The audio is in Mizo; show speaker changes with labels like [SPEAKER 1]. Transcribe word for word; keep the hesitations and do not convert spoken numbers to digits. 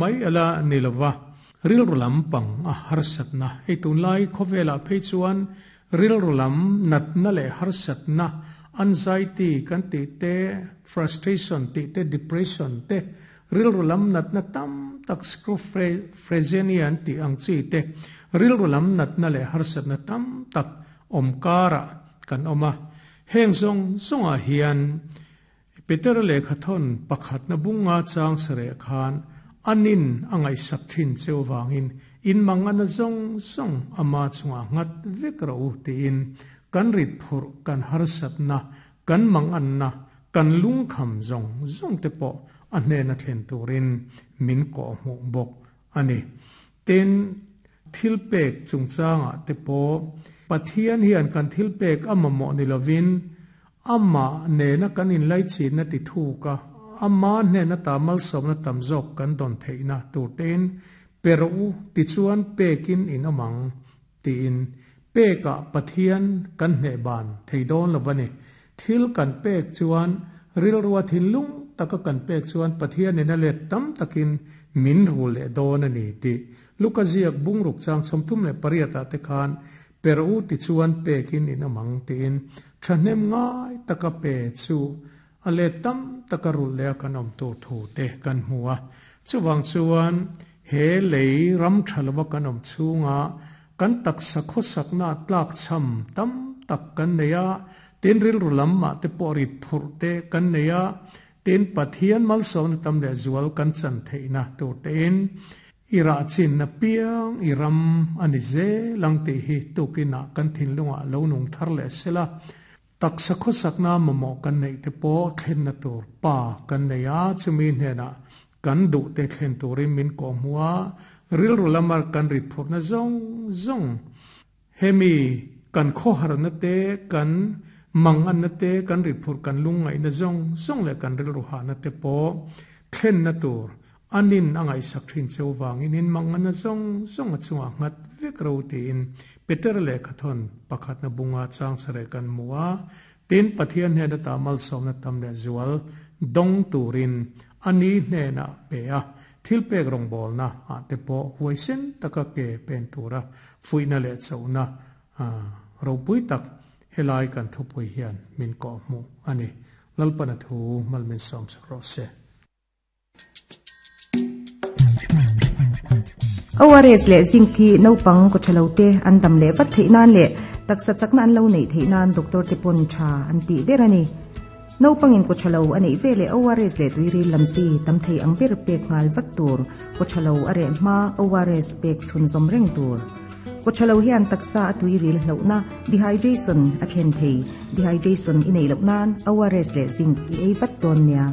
[SPEAKER 1] Mai ala nilowa rilru lam pang a harsatna hei tunlai khawvela phei chuan rilru lam natna leh harsatna anxiety kan ti te frustration ti te depression te rilru lam natna tam tak schizophrenia an ti ang chi te rilru lam natna leh harsatna tam tak omkara kan oma heng zong zonga hian Peter le khathon pakhat na bunga chang sare khan anin angai sak thin cheu wangin in mangana zong zong ama chunga ngat vek ro ti in kan rit phur kan harsat na kan mangan na kan lung kham zong zong te po a hne na thlen turin min ko mu bok ani ten thil pek chungchanga te po Pathian hian kan thil pek ama mo ni lovin ama ne na kan in lai chi na ti thu ka ama ne na tamal som na tamzok kan don theina turten pero ti chuan pekin in amang ti in peka Pathian kan hne ban theidon lovani thil kan pek chuan rilruwa thinlung taka kan pek chuan Pathian in a let tam takin min rul le don ani ti Lukaziak bungruk chang somthum le pariata te khan pero ti chuan pekin in amang ti in thahnem ngai taka pe chu ale tam takarul le kan om tu thu te kan huwa chuwang chuan he lei ram thalwa kan om chunga kan tak sakho sakna tlak cham tam tak kan neya tin ril rulam ma te pori phur te kan neya tin Pathian mal som tam le zual kan chan theina tu ten ira chin na piang iram ani ze langte hi tukina kan thin lunga lo nung thar le sela tak sakho sakna mamo kan nei te po thlen na tur pa kan nei a chumi hne na kan du te thlen turin min ko muwa ril rulamar kan rit phur na zong zong hemi kan kho har na te kan mang an na te kan rit phur kan lung ngai na zong zong le kan ril ru ha na te po thlen na tur anin angai sak thin cheu wangin in mang an na zong zong a chunga ngat vek ro ti in Peter le khathon pakhat na bunga chang sare kan muwa tin Pathian he na tamal som na tam le zual dong turin ani hne na pe a thil pek rong bol na a te po huaisen taka ke pen tura fuina le chauna a ropui tak helai kan thupui hian min ko mu ani lalpana thu malmin som sakro se
[SPEAKER 2] O R S le zinc ki naupang ko thalote an dam le vat theinan le taksa chakna an lo nei theinan doctor te pon tha an ti berani naupang in ko thalo ani vele O R S le tuiri lamchi tam thei ang ber pek ngal vat tur ko thalo are ma O R S pek chun zom reng tur ko thalo hian taksa tuiri hlona dehydration a khen thei dehydration inei lo nan O R S le zinc i ei vat ton nia.